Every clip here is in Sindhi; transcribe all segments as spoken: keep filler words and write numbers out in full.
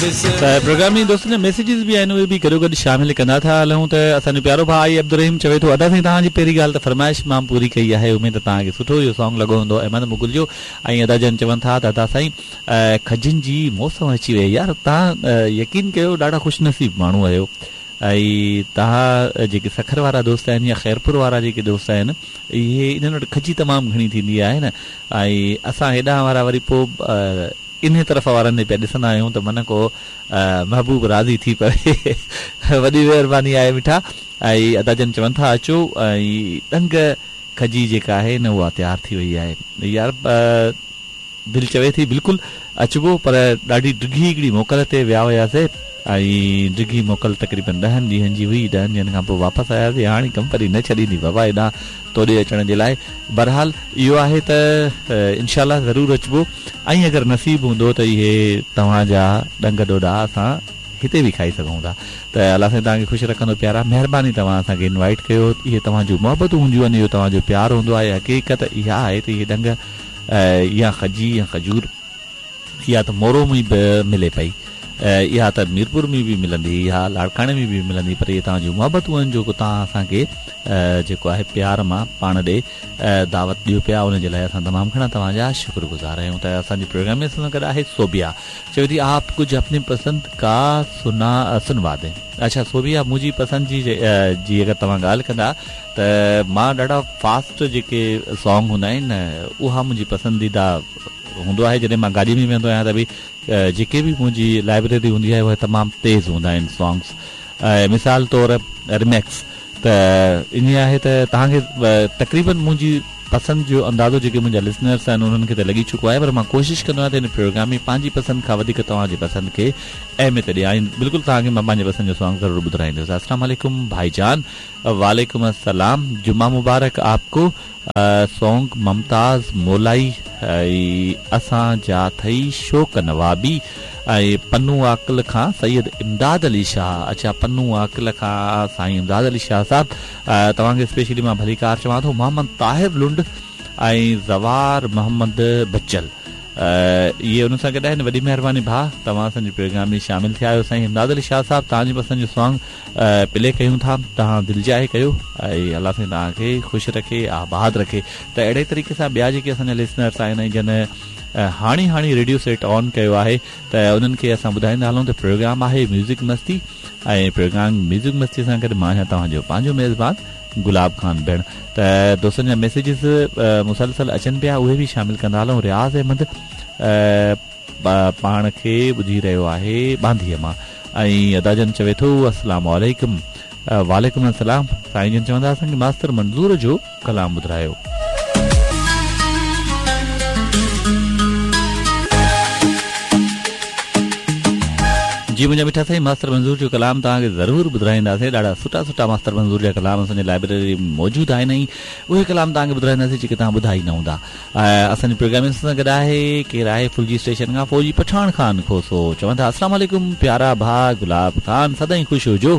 ته پروگرام ۾ دوستن جا ميسيجز به آهن اهي به گڏو گڏ شامل ڪندا ٿا هلون ته اسان جو پيارو ڀاء آئي عبدالرحيم چوي ٿو ادا سائين توهان جي پهرين ڳالهه ته فرمائش مان پوري ڪئي آهي اميد ته توهان کي سٺو اهو سانگ لڳو هوندو احمد مغل جو ۽ ادا جن چون ٿا ته ادا سائين کجين جي موسم اچي وئي يار توهان يقين ڪيو ڏاڍا خوش نصيب ماڻهو آهيو ۽ توهان جيڪي سکر وارا دوست آهن يا خيرپور وارا جيڪي دوست آهن اهي انهن وٽ کجي تمام گهڻي ٿيندي آهي نه ۽ اسان هيڏانهن وارا وري پوءِ ان طرف وارن ڏي پيا ڏسندا آهيون ته من ڪو محبوب راضي ٿي پوي. وڏي مهرباني آهي مٺا. ۽ ادا جن چون ٿا اچو ۽ ڏنگ کجي جيڪا آهي نه اها تيار ٿي وئي آهي. يار دل چوي ٿي بلڪل اچبو پر ڏاڍي ڊگهي هڪڙي موڪل تي ويا هئاسين ۽ ڊگهي موڪل تقريبن ڏهن ڏينهن جي هئي. ڏهن ڏينهن کان پوءِ واپس آياسين. هاڻي ڪمپني نه ڇڏيندي بابا هيڏان توڏي اچڻ جي لاءِ. بهرحال اهو آهي ته انشا ضرور اچبو ۽ اگر نصيب هوندو ته اهي توهان جا ڏنگ ڏوڏا اسان هتي به کائي سگهون ٿا. ته الله سائين توهان کي خوش رکندو پيارا. مهرباني توهان اسان کي انوائيٽ ڪيو. اهي توهان جون محبتون هونديون آهن، اهو توهان جو پيار هوندو آهي. حقيقت اها آهي ته اهي ڏنگ يا کجي يا کجور يا ته مورو ۾ به ملي پئي، اها ته ميرپور ۾ به ملندي، اها لاڙڪاڻي ۾ به ملندي، پر اهي توهان جون محبتون آهن جيڪو توهان اسان کي جيڪو آهي پيار مان پاڻ ڏي دعوت ڏيو پيا، ان جي لاءِ اسان تمام گهڻا توهان جا شڪرگذار آهيون. ته اسان جي پروگرام ۾ اسان سان گڏ آهي سوبيا، چوي ٿي آپ ڪجهه اپني پسند ڪا سنا سنوا the. اڇا سوبيا، منهنجي پسند جي جي اگر توهان ڳالهه ڪندا ته مان ڏاڍا فاسٽ جيڪي سانگ هوندا آهن اها منهنجي پسنديده هوندو آهي. جڏهن مان گاڏي ۾ ويندو آهيان ته به جيڪي به منهنجي لائبريري هوندي آهي اهي تمام تيز هوندا آهن سانگس. مثال طور ريميڪس. ته ان آهي ته توهان کي تقريبن منهنجي پسند جو اندازو جيڪي منهنجا لسنرس آهن انهن کي ته لڳي چڪو آهي، پر مان ڪوشش ڪندو آهيان ته هن پروگرام ۾ پنهنجي پسند کان وڌيڪ توهان جي پسند کي اهميت ڏيان. بلڪل توهان کي مان پنهنجي پسند جو سانگ ضرور ٻڌرائيندس. السلام علیکم ڀائي جان. وعلیکم السلام، جمعہ مبارڪ آپ ڪو. سانگ ممتاز مولائي اسان جا اٿئي شوق نوابي ۽ پنو عاقل کان سيد امداد علي شاهه. اڇا پنو عاقل کان سائين امداد علي شاهه صاحب، توهان کي اسپيشلي مان ڀليڪار چوان ٿو. محمد طاهر لنڊ ۽ زوار محمد بچل اهي ان سان گڏ آهن. وڏي مهرباني ڀاءُ توهان اسان جي پروگرام ۾ شامل ٿيا آهيو. سائين امداد علي شاهه صاحب توهان جي پسند جو سانگ پلي ڪيون ٿا، توهان دل جاءِ ڪيو ۽ الله سائين توهان کي خوش رکي آباد رکي. ته اهڙي طريقي سان ٻيا جيڪي اسان جا لسنرس آهن ۽ جن هاڻي هاڻي ريڊيو سيٽ آن ڪيو آهي ته انهن کي اسان ٻڌائيندا هلون ته پروگرام آهي ميوزڪ مستي ۽ پروگرام ميوزڪ مستي سان گڏ مان آهيان توهان جو پنهنجو ميزبان گلاب خان ڀيڻ. ته دوستن جا ميسيجز مسلسل اچن پيا اهي به شامل ڪندا هلون. رياض احمد پاڻ کي ٻڌي رهيو آهي ٻانڌيءَ مان ۽ ادا جن چوي ٿو السلام علیکم. وعلیکم السلام. سائين جن چوندا اسان کي ماستر منظور جو ڪلام ٻڌايو. جي منهنجا مٺا سائين، ماستر منظور جو ڪلام توهان کي ضرور ٻڌائينداسين. ڏاڍا سٺا سٺا ماستر منظور جا ڪلام اسان جي لائبريري ۾ موجود آهن ۽ اهي ڪلام توهان کي ٻڌائينداسين جيڪي توهان ٻڌا ئي نه هوندا. اسان جي پروگرام سان گڏ آهي ڪير آهي ڦلجي اسٽيشن کان فوجي پٺاڻ خان کوسو. چون ٿا السلام علیکم پيارا ڀاءُ گلاب خان، سدائين خوش هجو.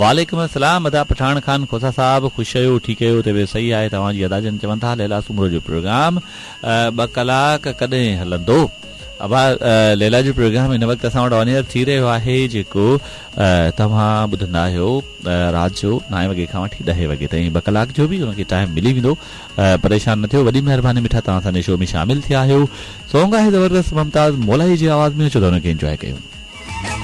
وعلیکم السلام ادا پٺاڻ خان کوسا صاحب، خوش آهيو؟ ٺيڪ آهيو؟ ته صحيح آهي توهان جي. ادا جن چون ٿا ليلا سومرو جو پروگرام ٻه ڪلاڪ ڪڏهن هلندو؟ ابا ليلا جو پروگرام هن وقت اسان وٽ آن ايئر ٿي رهيو آهي جيڪو توهان ٻڌندا آهيو رات جو نائين وڳي کان وٺي ڏهين وڳي تائين، ٻه ڪلاڪ جو به هن کي ٽائيم ملي ويندو. پريشان نه ٿيو. وڏي مهرباني مٺا توهان اسان جي شو ۾ شامل ٿيا آهيو. سانگ آهي زبردست ممتاز مولائي جي آواز ۾، اچو ته هن کي انجواءِ ڪيون.